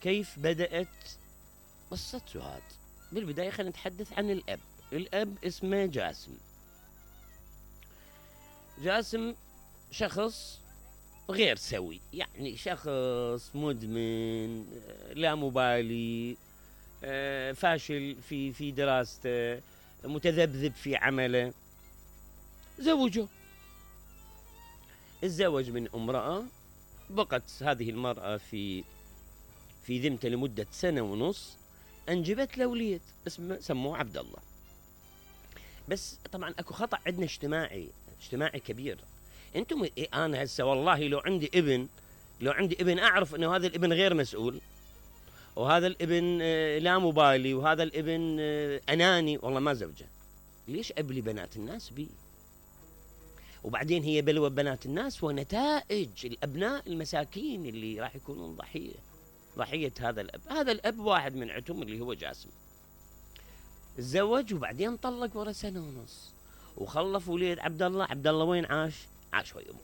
كيف بدأت قصة سهاد؟ بالبداية خلينا نتحدث عن الأب. الأب اسمه جاسم. جاسم شخص غير سوي، يعني شخص مدمن، لا مبالي، فاشل في دراسته، متذبذب في عمله. زوجه، تزوج من امرأة، بقت هذه المرأة في ذمته لمدة 1.5 سنة، انجبت له وليد اسمه سموه عبد الله. بس طبعا اكو خطأ عندنا اجتماعي كبير. انتم انا هسه والله لو عندي ابن اعرف انه هذا الابن غير مسؤول، وهذا الابن لا مبالي، وهذا الابن اناني، والله ما زوجه. ليش ابلي بنات الناس بي؟ وبعدين هي بلوى بنات الناس ونتائج الابناء المساكين اللي راح يكونون ضحية هذا الاب. هذا الاب واحد من عتم اللي هو جاسم. تزوج وبعدين طلق ورا 1.5 سنة، وخلف وليد عبد الله. عبد الله وين عاش ويا امه.